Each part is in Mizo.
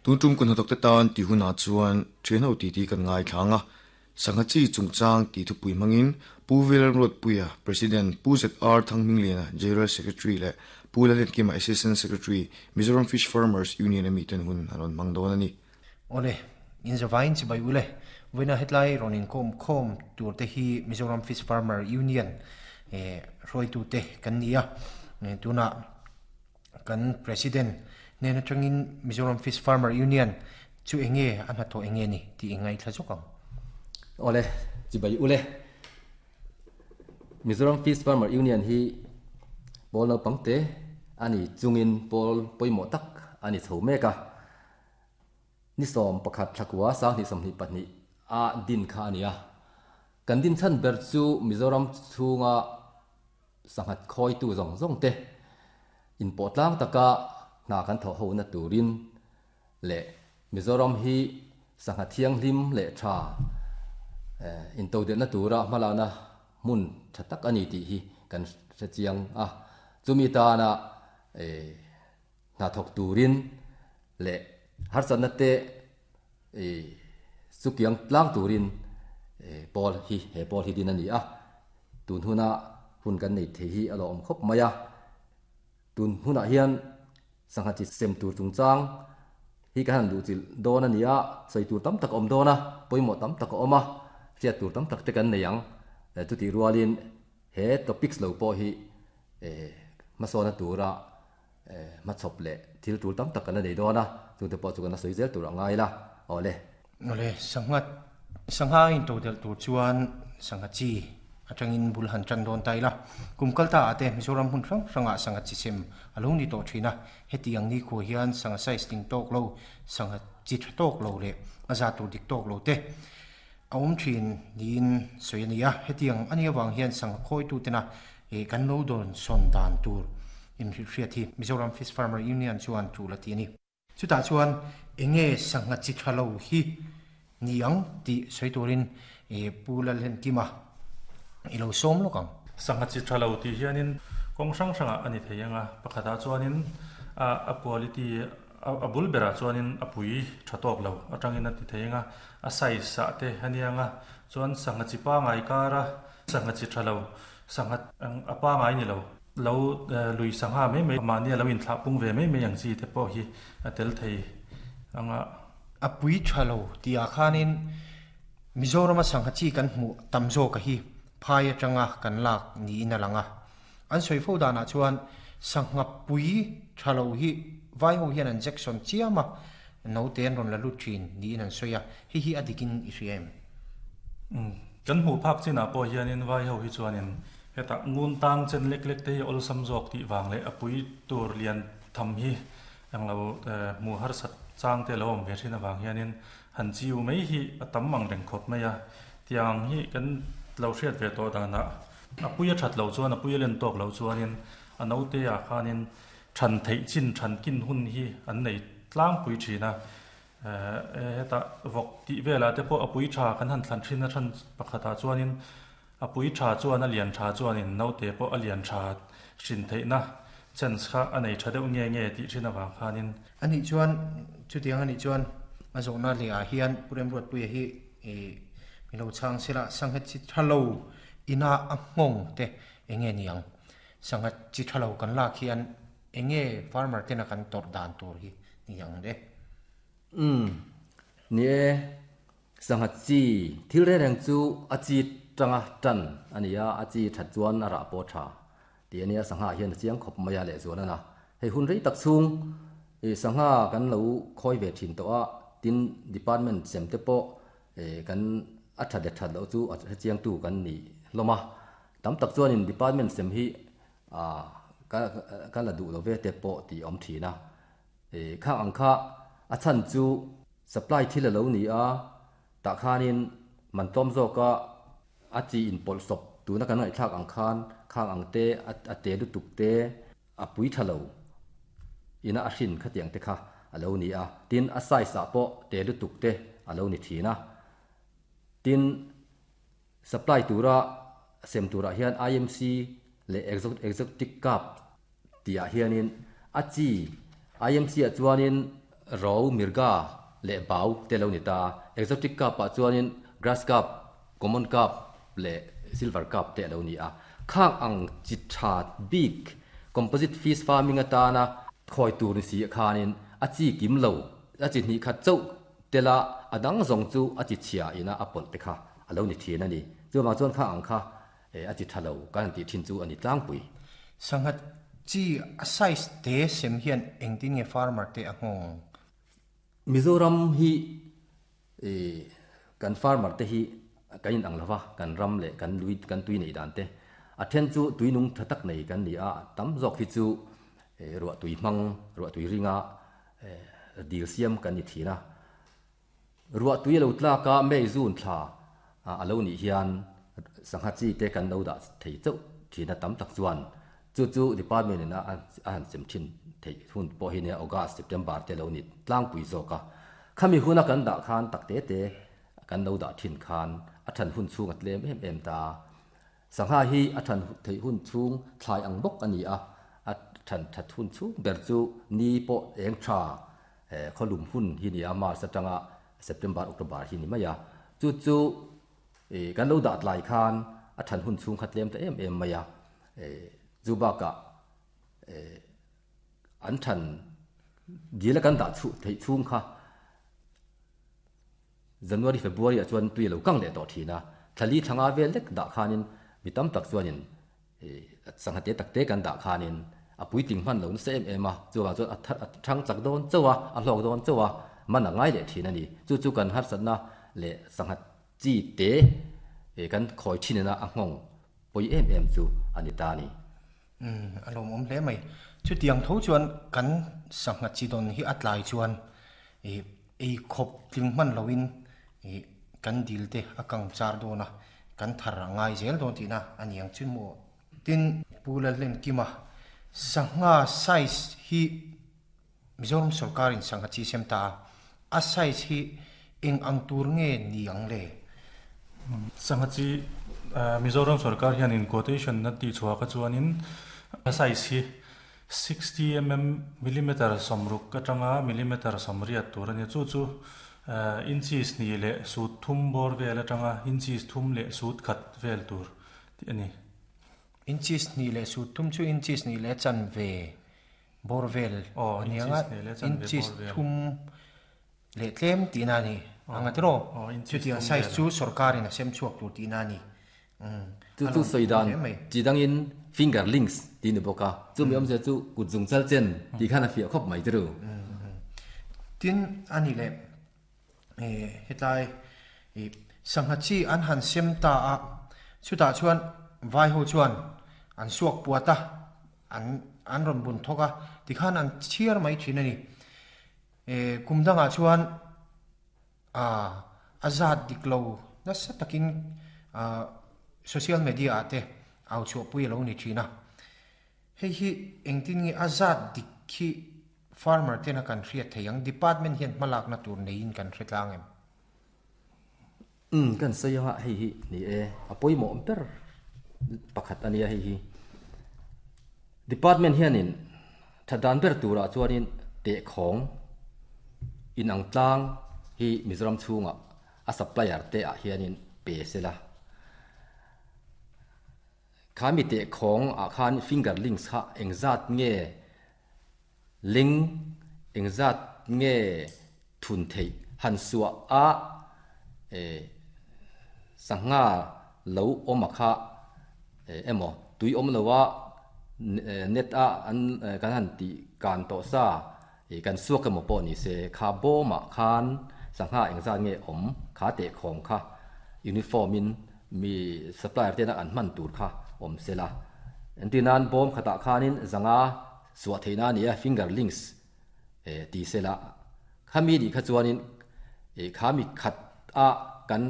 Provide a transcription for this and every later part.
Tun tum kun hnathawkte tan tih hunah chuan thianho titi kan ngaithla ang a, sangha chi chungchang tih thupui hmangin Pu Vilalruatpuia, President, Pu ZR Thanghmingliana, General Secretary leh Pu Lalenkima, Assistant Secretary, Mizoram Fish Farmers Union a miten hun an rawn hmang dawn a ni. Awle, in zavaiin chibai ule, vawiina hetlai rawn inkawm khawm tur te hi Mizoram Fish Farmer Union hruaitute kan ni a, tunah kan President hnen atangin Mizoram Fish Farmer Union chu enge a hnathawh enge ni tih i ngaithla zawk ang. Awle, chibai ule, Mizoram Fish Farmer Union hi pawl naupang te a ni chungin pawl pawimawh tak a ni chho mek a. Ni 11 thlakua 2022 a din kha a ni a. Kan din chhan ber chu Mizoram chhunga sanghat khawitu zawng zawng te inpawh tlang taka hna kan thawh hona turin leh Mizoram hi sangha thianghlim leh tha intodelhna tura hmalakna hmun tha tak a ni tih hi kan hre chiang a. Chumi tana Hna thawk turin leh harsatna te chu kiang tlang turin pawl hi he pawl hi din a ni a, tun huna hun kan nei thei hi a lo awm khawp mai a, tun hunah hian sangha chi sem tur chungchang hi kan han luhchilh dawn a ni a, sawi tur tam tak a awm dawn a, pawimawh tam tak a awm a, hriat tur tam tak te kan nei ang, chutih rualin he topics lo pawh hi hmasawna tura hmachhawp leh thil tul tam tak kan la nei dawn a, chungte pawh chu kan la sawi zel tur a ngai la, awle. Awle, sangha sangha a intodelh tur chuan sangha chi atangin bul han tan dawn ta ila, kum kal ta ah te Mizoram hmun hrang hrangah sangha chi sem a lo ni tawh thin a, hetiang nikhua hian sangha size ding tawk lo, sangha chi tha tawk lo leh a za tur dik tawk lo te a awm thin niin sawi a ni a, hetiang a nih avang hian sangha khawitu tena kan lo dawn sawn dan tur inhrilhhriat hi Mizoram Fish Farmer Union chuan tul a ti a ni. Chutah chuan enge sangha chi tha lo hi ni ang tih sawi turin Pu Lalhenkima i lo sawm lawk ang. Sangha chi tha lo tih hianin kawng hrang hrangah a ni thei ang a, pakhatah chuanin a quality a bul berah chuanin a pui tha tawk lo atangin a ti thei ang a, a size ah te a nia ang a, chuan sangha chi pangai kara sangha chi tha lo Sangha a pangai ni lo. Lo lui sangha mai mai mahni a lo inthlah pung ve mai mai ang chi te pawh hi a tel thei ang a. A pui tha lo tih ah khanin Mizorama sangha chi kan hmuh tam zawk a hi phai atanga kan lak niin a lang a. An sawi fo danah chuan sangha pui tha lo hi vai ho hian an jection chiam a, naute an rawn la lut thin niin an sawi a, hei hi a dikin i hria em? Kan hmuh phak chinah pawh hianin vai ho hi chuanin hetah ngun tang chen lek lek te hi awlsam zawk tih vang leh a pui tur lian tham hi englo hmuh harsat chang te lo awm ve thin avang hianin han chiu mai hi a tam ang reng khawp mai a. Tiang hi kan lo hriat ve tawh danah a pui a that loh chuan a pui a len tawk loh chuanin a naute ah khanin than theih chin than kin hun hi an nei tlangpui thin a. Hetah vawk tih velah te pawh a pui tha kan han thlan thin a than pakhatah chuanin a pui tha chuan a lian tha chuanin naute pawh a lian tha hrin theihna chance kha a nei tha deuh nge nge tih thin avang khanin. A nih chuan chutiang a nih chuan a zawhna leh ah hian Pu Remruatpuia hi mi lo chhang sela sangha chi tha lo ina a nghawng te enge niang sangha chi tha lo kan lak hian Enge farmer tena kan tawrh dan tur hi ni ang le? Umm, ni e, sangha chi thil reng reng chu a chi tanga tan a ni a, a chi that chuan a rah pawh tha tih a nia, sangha hian a chiang khawp mai a lehzual a na. Hei hun rei tak chhung i sangha kan lo khawi ve thin tawh a, tin department sem te pawh kan a that leh that loh chu a hrechiangtu kan ni hlawm a, tam tak chuanin department sem hi A, ka, ka la duh lo ve te pawh tih a awm thin a. E, khang ang kha a chhan chu supply thil a lo ni a, tah khanin man tlawm zawka a chi inpawlh sawp tuna kan ngaihthlak ang khan khang ang te, a te lutuk te, a pui tha lo ina a hrin khatiang te kha a lo ni a. Tin, a size ah pawh te lutuk te a lo ni thin a. Tin, Supply tura sem turah hian IMC leh Exotic Cup tihah hianin a chi IMC ah chuanin Ro, Mirga leh Bau te lo ni ta. Exotic carp ah chuanin Grass carp, Common carp leh Silver carp te a lo ni a. Khang ang chi tha bik composite fish farming atana khawi tur ni si khanin a chi kim lo, a chi hnih khat chauh tela a dang zawng chu a chi chhia ina a pawlh te kha a lo ni thin a ni. Chuvang chuan khang ang kha a chi tha lo kan han tih thin chu a ni tlangpui. Sangha chi a size te sem hian engtin nge farmer te a nghawng? Mizoram hi kan farmer te hi kan in ang lova, kan ram leh kan lui kan tui neih dan te a then chu tui nung tha tak nei kan ni a, tam zawk hi chu ruah tui hmang, ruah tui ringa dil siam kan ni thin a. Ruah tui a lo tlak a, May June thla a lo nih hian sangha chi te kan lo dah thei chauh thin a tam tak chuan chu chu department in a han sem thin theih hun pawh hi nia August, September te lo ni tlangpui zawk a. Khami huna kan dah khan tak te te kan lo dah thin khan a than hun chhung a tlem em em ta. Sangha hi a than theih hun chhung thlai ang bawk a ni a, a than that hun chhung ber chu ni pawh eng tha khawlum hun hi ni a, March atanga September, October hi ni mai a. Chu chu kan lo dah tlai khan a than hun chhung kha tlem ta em em mai a, chu bakah an than dil a kan dah chhuh theih chhung kha January, February ah chuan tui a lo kang leh tawh thin a, thla li thla nga vel lek dah khanin mi tam tak chuanin sangha te tak te kan dah khanin a puitling hman lo nasa em em a, chuvang chuan a thar a thang chak dawn chauh a, a hlawk dawn chauh a, man a ngai leh thin a ni. Chu chu kan harsatna leh sangha chi te kan khawi thin ina a nghawng pawi em em chu a ni ta a ni. Umm, a lawmawm hle mai. Chutiang tho chuan kan sangha chi dawn hi a tlai chuan ih ei khawp tling hman loin ih kan dil te a kang char dawn a, kan thar a ngai zel dawn tihna a ni ang chu maw. Tin, Pu Lalhlenkima, sangha size hi Mizoram sorkarin sangha chi sem ta a, a size hi eng ang tur nge ni ang le? Sangha chi Mizoram sorkar hianin quotation na tih chhuah kha chuanin a size hi 60 millimeter sawmruk atanga millimeter sawmriat tur a ni. Chu chu inches hnih leh sut thum bawr vel atanga inches thum leh sut khat vel tur tih a ni. Inches hnih leh sut thum chu inches hnih leh chanve Bawr vel a ni ang a, inches thum leh tlem tihna a ni ang a tiraw? Chutiang size chu sorkarin a sem chhuak tur tihna a ni. Chu chu sawi dan chi dangin finger links tih ni bawk a, chumi awmzia chu kut zung chal chen tih khan a fiah khawp mai tiraw? Tin a ni leh hetlai sangha chi an han sem ta a, chutah chuan vai ho chuan an suak puat a, An an rawn bun thawk a, tikhan an chhiar mai thin a ni. E, kum dangah chuan a a zat dik lo nasa takin a social media ah te au chhuahpui a lo ni thin a. Hei hi engtin nge a zat dik hi farmer tena kan hriat thei ang? Department hian hmalakna tur neiin kan hre tlang em? Umm kan sawi anga hei hi ni e, a pawimawh ber pakhat a nia hei hi. Department hianin tha dan ber turah chuanin tehkhawng inang tlang hi Mizoram chhungah a supplier te ah hianin pe sela. Kha mi tehkhawng ah khan finger links kha engzat nge Ling engzat nge thun theih han suah a sangha lo awm a kha emaw tui awm lo a net a an kan han tih kan tawh sa kan suak emaw pawh ni se kha bawm ah khan sangha engzat nge awm kha tehkhawm kha uniform in mi supplier tena an hman tur kha awm sela entir nan bawm khatah khanin zanga Suah theihna a ni a, finger links ti sela. Khami nih kha chuanin kha mi khat a kan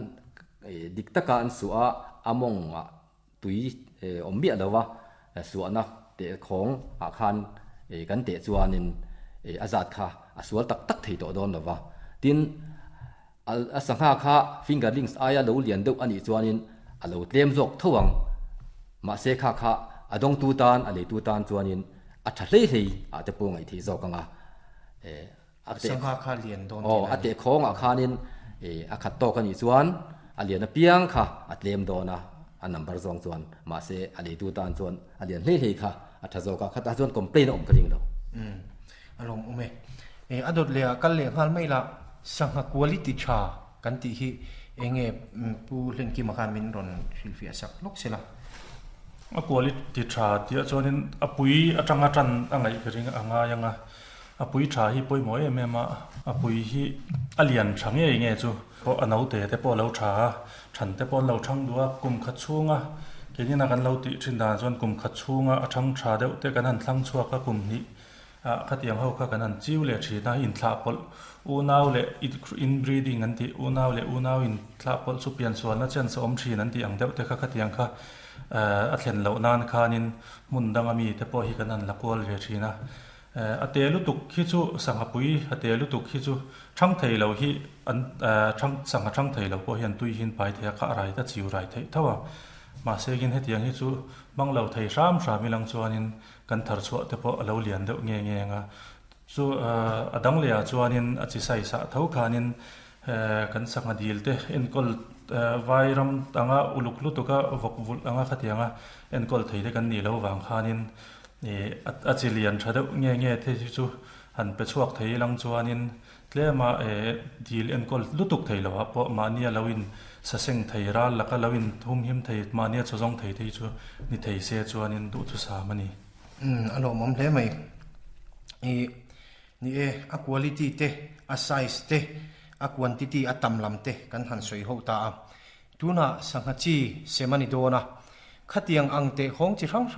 dik taka an suah a, a mawngah tui awm miah lo a, suahna teh khawng ah khan kan teh chuanin a zat kha a sual tak tak thei tawh dawn lo va. Tin, a sangha kha finger links aia lo lian deuh a nih chuanin a lo tlem zawk tho ang. Mahse kha kha a dawngtu tan, a leitu tan chuanin a tha hlei hlei ah te pawh ngaih theih zawk ang a. A teh Sangha kha lian dawn aw tihna a a ni. teh khawngah khanin ih a khat tawk a nih chuan a lian apiang kha a tlem dawn a, a number zawng chuan mahse a leitu tan chuan a lian hlei hlei kha a tha zawk a, khatah chuan complain a awm ka ring lo. Umm a lawm awm e. Ih a dawt leh ah kal leh nghal mai la, sangha quality tha kan tih hi eng nge Pu Hlenkima khan min rawn hrilhfiah sak lawk se la. A quality tha tih ah chuanin a pui atanga tan a ngaih ka ring a ngai ang a, A pui tha hi pawimawh em em a, a pui hi a lian tha ngei nge chu pawh a naute te pawh a lo tha a, than te pawh an lo thang duh a, kum khat chhunga keinin a kan lo tih thin dan chuan kum khat chhunga a thang tha deuh te kan han thlang chhuak a, kum hnih ah khatiang ho kha kan han chiu leh thin a, inthlah pawlh unau leh inbreeding an tih unau leh unau inthlah pawlh chu piansualna chance a awm thin an tih ang deuh te kha khatiang kha a thlen loh nan khanin hmun danga mi te pawh hi kan han la kual ve thin a. A te lutuk hi chu sangha pui a te lutuk hi chu thang thei lo hi an thang sangha thang thei lo pawh hian tui hi an pai thei a, kha a rai ta chiu rai theih tho a. Mahse kin hetiang hi chu hmang lo thei hram hram ilang chuanin kan thar chhuah te pawh a lo lian deuh nge nge ang a. Chu a dang leh ah chuanin a chi sai sah tho khanin kan sangha dil te enkawl vairam anga uluk lutuk a vawk vulh anga khatianga enkawl thei te kan nih loh vang khanin Ih a chi lian tha deuh nge nge te hi chu han pe chhuak thei ilang chuanin tlema eh dil enkawl lutuk thei lo ah pawh mahnia lo in saseng thei ral laka lo in humhim thei mahnia chaw zawng thei te hi chu ni thei se chuanin duhthusam a ni. Umm a lawmawm hle mai. Ih ni e a quality te a size te a quantity a tam lam te kan han sawi ho ta a. Tunah sangha chi sem a ni dawn a, khatiang ang teh khawng chi hrang hrang.